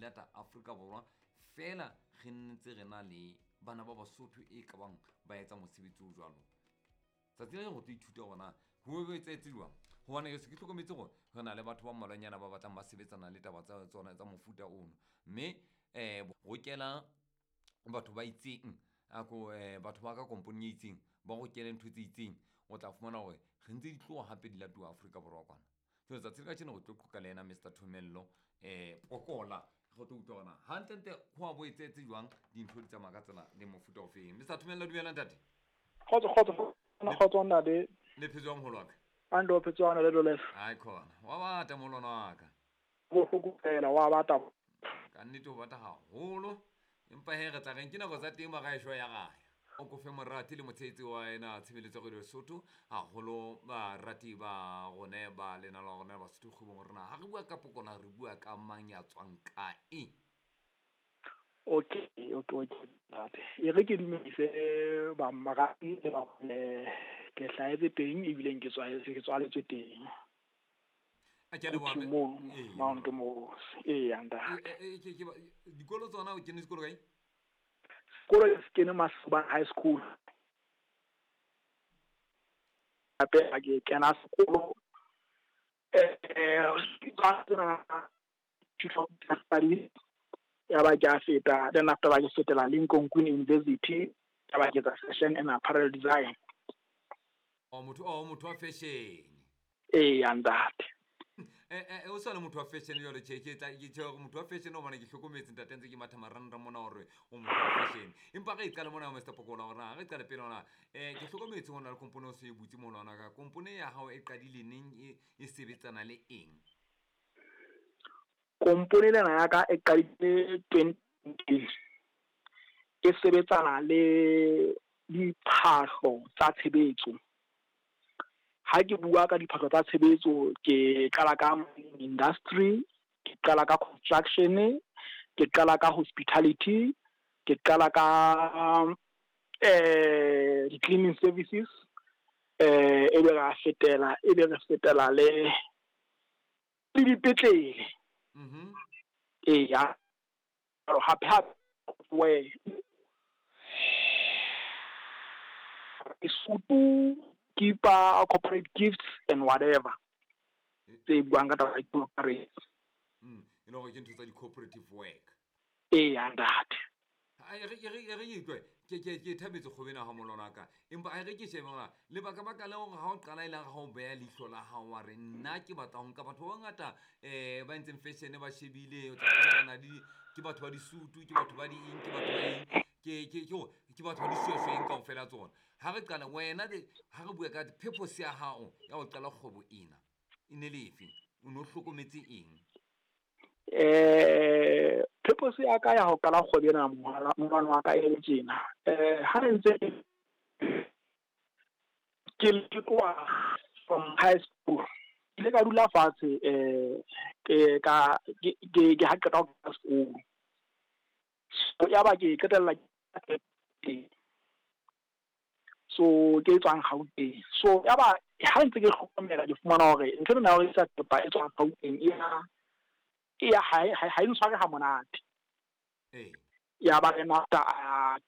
lata Afrika Borwa feela re ntse re na le bana ba Basotho e ka bang ba etsa mosebetsi o jwalo. Tsatsi le go tlo ithuta gore na go be etsahetse jwang, gobane ke se ke hlokometse gore re na le batho ba mmalwanyana ba batlang ba sebetsana le taba tsa tsona tsa mofuta ono, mme rokela batho ba itseng ako batho ba ka komponeng e itseng ba rokele ntho tse itseng, o tla fumana gore re ntse di tloha hape di latuwa Afrika Borwa kwana. Jwale tsatsi le kajeno re tlo qoqa le yena Mr Thomello Pokola, re tlo utlwa hore na hantlentle ho a bo etsahetse jwang, dintho di tsamaya ka tsela le mofuta ofeng. Mr Thomello, dumela ntate. Kgotso, kgotso, kgotso ntate. Le phetse jwang moholo wa ka? Ande o phetse jwang le Lolesa? Ai khona. Wa bata molwana wa ka. Bohloko fela wa bata. Ka nnete o bata haholo. Empa he re tla reng ke nako tsa teng ba gae ya gae. O kofe morati le motshehetsi wa ena tshebeletso ya Radio Lesotho, haholo barati ba rone ba lena la rona Basotho kgwebong rona. Ha re bua ka Pokola re bua ka mang ya tswang kae? Okay, okay, okay, ntate. E re ke dumedise ba marati le ba ke hlahetse teng ebile ke tswaletswe, ke tswaletswe teng. A ke a leboha, Ke mme. moo, Ee. Mount moo. Ee, ntate. Dikolo tsona o kene sekolo kae? Sekolo se kene Masobana High School. Hape ha ke kena sekolo, ya ba ke a feta, then after ba ke fetela Lincoln Queen University, ya ba ke etsa fashion and apparel design. Oh, motho, oh, motho wa fashion. Ee, ntate. O sa le motho wa fashion jwale, tjhe, ke tla, ke tjhe hore motho wa fashion o bona ke hlokometse ntate ntse ke matha marangrang mona hore o motho wa fashion. Empa re e qale mona Mr Pokola hore na re qale pele hona, ke hlokometse hona le kompone o se e butse mona hona ka kompone ya hao e qadile neng e sebetsana le eng? Kompone lena ya ka e qadile 2019. E sebetsana le diphahlo tsa tshebetso. Ha ke bua ka diphahlo tsa tshebetso, ke qala ka industry, ke qala ka construction, ke qala ka hospitality, ke qala ka di-cleaning services, e be ra fetela, e be re fetela le dipetlele. Ee, ya. Hape hape we sutu, kipa, corporate gifts and whatever. Tse buang ka taba ya corporate. E le hore ke ntho tsa di-cooperative work. Ee, ntate. Ai, re, re, re utlwe, ke thabetse kgwebo ena ha molwana wa ka. Empa a re ke shebe hore lebaka baka le hore ha o qala e le ha o beha leihlo la hao wa re nna ke batla ho nka batho ba bangata, ba entseng fashion ba shebile, o tla fumana na di, ke batho ba disutu, ke batho ba di eng, ke batho ba eng, ke hore ke batho ba dishweshwe eng kaofela tsona. Ha re qala wena de, ha re bua ka purpose ya hao ya ho qala kgwebo ena, e ne le efe? O no hlokometse eng? Purpose ya ka ya ho qala kgwebo ena molwana wa ka e le tjena. Ha re ntse ke tloha from high school, ke ile ka dula fatshe, ke ka, ke, ke, ke ha qeta ho kena sekolo. So, ya ba ke qetella ke so ke tswang Gauteng. So ya ba ha ntse ke hlokomela ke fumana hore ntho ena ya ho rekisa thepa e tswang Gauteng e ya, e ya ha e, ha e ntshware ha monate. Ee. Ya ba then after,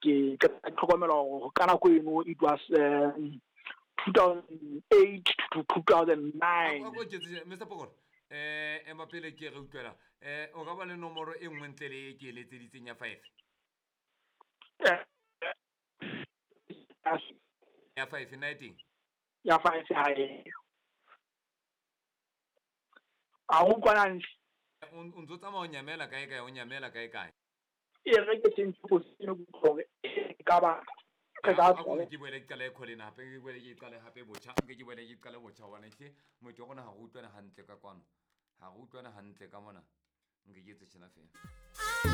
ke hlokomela hore ka nako eno it was 2008 to 2009. Ako tjetse, Mr Pokola, ema pele ke re utlwela. O ka ba le nomoro e nngwe ntle le e ke e letseditseng ya 5? Ya 5 nna e teng? Ya 5 ha e. A ho utlwana hantle? O ntso tsamaya o nyamela kae kae, o nyamela kae kae? E re ke change position hore e ka ba re ka A ko tswa. ke boele ke qale call ena hape, ke boele ke qale hape botjha, nke ke boele ke qale botjha hobane hle motho wa rona ha re utlwane hantle ka kwano. Ha re utlwane hantle ka mona. Nke ke etse tjena feela.